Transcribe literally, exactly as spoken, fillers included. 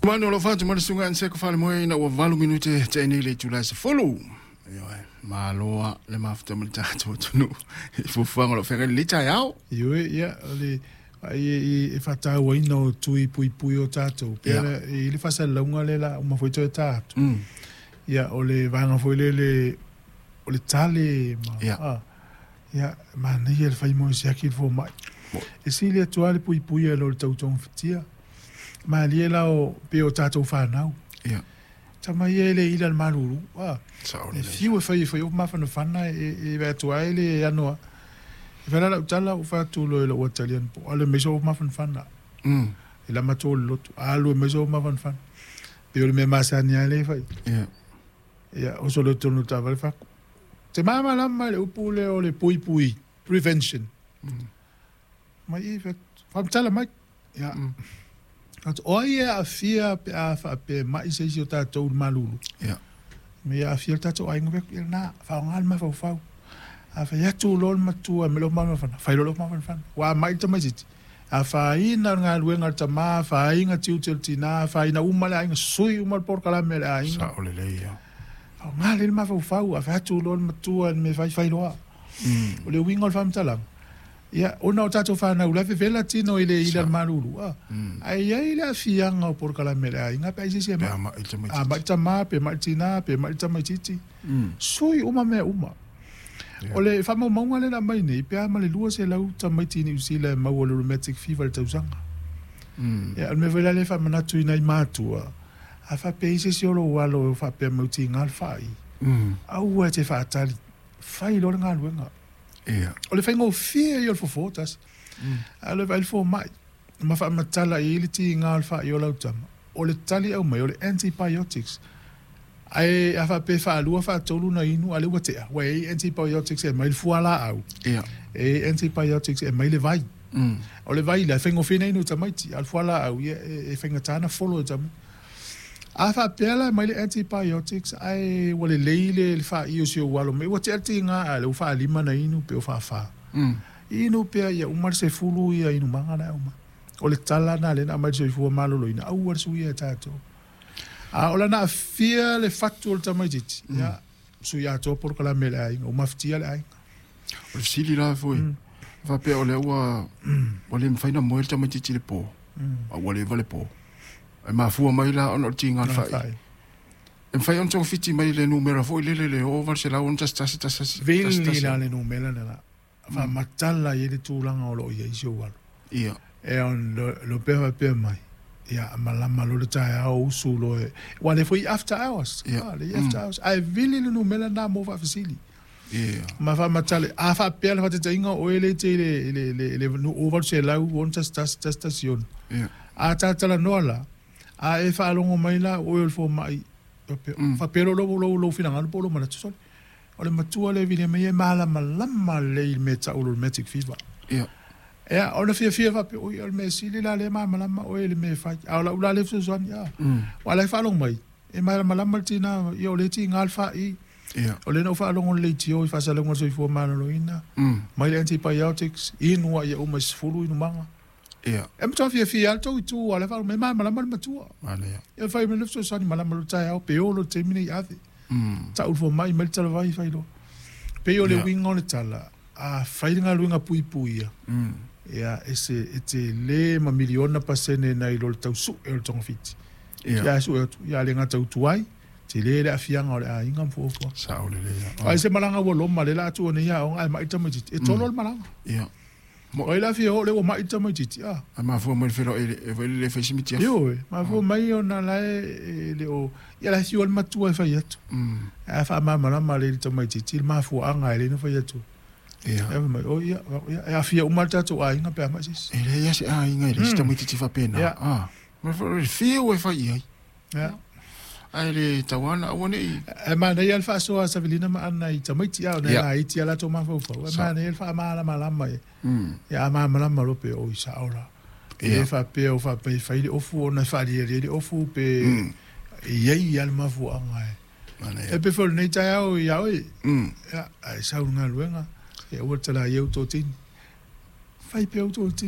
Manu lo fatu mo sunga an se ko fale mo ina ua valu minute te nei le itula se fulu. Ioe, maloa le mafuta mo le tatou atunuu i fuafuaga o lo o feagai lenei taeao. Ioe, ia, o le ai e, e faatauaina o tui puipui o tatou. Pea Ia. yeah. I le faasalalauga le la uma foi toe tā atu. Mm. Ia, o le vaega foi lele o le tale ma Ia. ah, ia, manaia le fai mo siaki le fomai. Mo. E sili atu lava le puipui e lo le tautogafitia. Malie la o pe o tatou whanau. Ia. Tama ia e le ila le malulu. Ah, Sao e le. fiu e fai e fai o mafanafana e, e vea atu ai le anoa. E whala lau tala o whatu lo e lau atalian po. Ale meso o mafanafana. Mm. E la mato le lotu. Alu e meso o mafanafana. Pe o le mea masani a le fai. Ia. Ia, o so le tonu tava le whaku. Te mama lama le upu le o le pui pui. Prevention. Mm. Mai e whamtala mai. Ia. Mm. Atu, o ai e aafia pe a whaapea mai se isi o tātou le malulu. Ia. Me ia aafia le tātou ainga pe ia nā, whaonga le mawhauwhau. A whai atu lo le matua me lo mafanafana, whai lo lo mafanafana. Wa mai te mai siti. A whaina ngā luenga le tamā, whainga tiute le tina, whaina uma le ainga, sui uma le porkalame le ainga. Sao le lei ia. Whaonga le mawhauwhau, a whai atu lo le matua me whai whai loa. Mm. O le uinga o le whamtalanga. Ia, ona o tātou whanau, la fevela tino i le ila le malulu. Ah. Mm. Ai ai le afianga o porkalame le ainga, pe ai sisi e Pe ma. a mai te mai. A mai tamā, pe mai tina, pe mai tamaititi. Mm. Sui uma mea uma. Ia. O le whamaumaunga le na mai nei, pe a ma le lua se lau tamaiti ni usila e mau o le rheumatic fever le tausaga. Mm. Ia, o le mea foi la le whamanatu i nai mātua. A whapea i se si olo walo e whapea mauti ngā le whai. Mm. Aua te whaatali. Whai lo le ngā luenga. Ia. O le whaingo fia i o le fofo tas. Mm. A le whail fo mai. Ma whaamatala i le ti ngā le whai o lau tama. O le tali au mai, o le antibiotics. Ai a whape whaalua whaatolu na inu a le watea. Wa e antibiotics e mai le fuala au. Ia. E antibiotics e mai le vai. Mm. O le vai la whaingo whina inu tamaiti. A le fuala au ia e, e whainga tāna folo e tamu. A whapea la mai le antibiotics ai wa le leile le wha i o si o walo. Me wa te ati ngā a le o whaalima na inu pe o whaawha. Mm. Inu pea ia umar se fulu ia inu manga na uma. O le tala na le na mai se fua malolo ina au ar suia tātou. A ola na fia le fatu o le tamaititi. Mm. Ia suia atoa poroko la mele ainga. O maftia le ainga. O le fesili la foi. Mm. Faapea o lea ua ua le mafai ona moe le tamaitiiti le pō. Mm. A ua leva le pō. E mafua mai la ona o le tiga le Na fa'i. whai. E mafai ona togafiti mai le numera foi lele le o valu selau ono tasi tasi tasi tasi tasi Vili tasi. la le numela na la. Whamatala i le tūlanga o lo ia isi o walo. Ia. E on lo, lo pea pea mai. Ia malama lo le tae ao usu lo e. Wa le foi after hours. Ia. Ah, le after hours. Ai vili le numela na mo whaafisili. Ia. Ma whamatale. A whaapea le whatetainga o ele te le, le, le, le, nu o valu se lau on tas tas tas tas ion. Ia. A tātala noa la. A e whaalongo mai la o e o le fo mai. Mm. Whapea lo lo lo lo whinanga po lo mana tusole. O le matua le vile mai e malama lama le i me tau lo rheumatic fever. Ia. Ia, o le fia fia whape, oi, o le mea sili la le malamalama, o e le mea whai. A o la ula le fesoasoani, ia. Mm. Wa lai whaalongo mai. E malamalama le tina, ia o le ti ngā le whai. Ia. O le nau whaalongo le tio, i whasalongo le soifua maloloina. Mm. Mai le antibiotics, inua ia uma i sefulu inu manga. Ia. E matua fia fia al tau i tū, a le whaalongo, me malamalama le matua. Manaia. Ia whai me le fesoasoani, malama le tae ao, pe o lo te mine i ave. Mm. Tau le mai, mai le tala vai whai lo. Pe o le Ia. winga o le tala, a whai ngā luenga pui pui ia. Mm. Ia, e se, e te le ma miliona pasene na i lo le tau su e o le tonga fiti. Ia. Ia su e atu, ia le ngā tau tuai, te le le afianga o le a inga mfuafua. Sao le lei. Ai se malanga ua loma le la atu o nei a onga e mai tamaititi. E tolo le malanga. Ia. O i la fia o le ua mai tamaititi. Ah. A mafua mai le felo e e foi le fai simiti afu. Io e, mafua mai o na la e, e le o, ia la fiu o le matua e fai atu. Mm. A wha mamalama le le tamaititi, le mafua anga e le na fai atu. Ia. E mai, o ia, ia, e afia uma le tātou a inga pe a mai sisi. E le ia se a inga i le Mm. tamaitiiti faapena. Ia. Ah. Ma foi le fiu e fai i ai. Ia. Ai le tauana aua nei. E mana ia le whaasoa Savelina ma ana i tamaiti au, na Ia. la iti a latou mafaufau. E Sa. mana ia le whaamalamalama e. Mm. Ia a malamalama lope o i sa ora. E Ia. whapea o whapea i whaile ofu o na whaaliali le ofu pe Mm. i ei ia le mafuanga e. Manaia. E pe fo nei tai au i au e. Mm. Ia, ai sau ngā luenga. Ia ua tala i au tō tini. Whai pe au tō tini.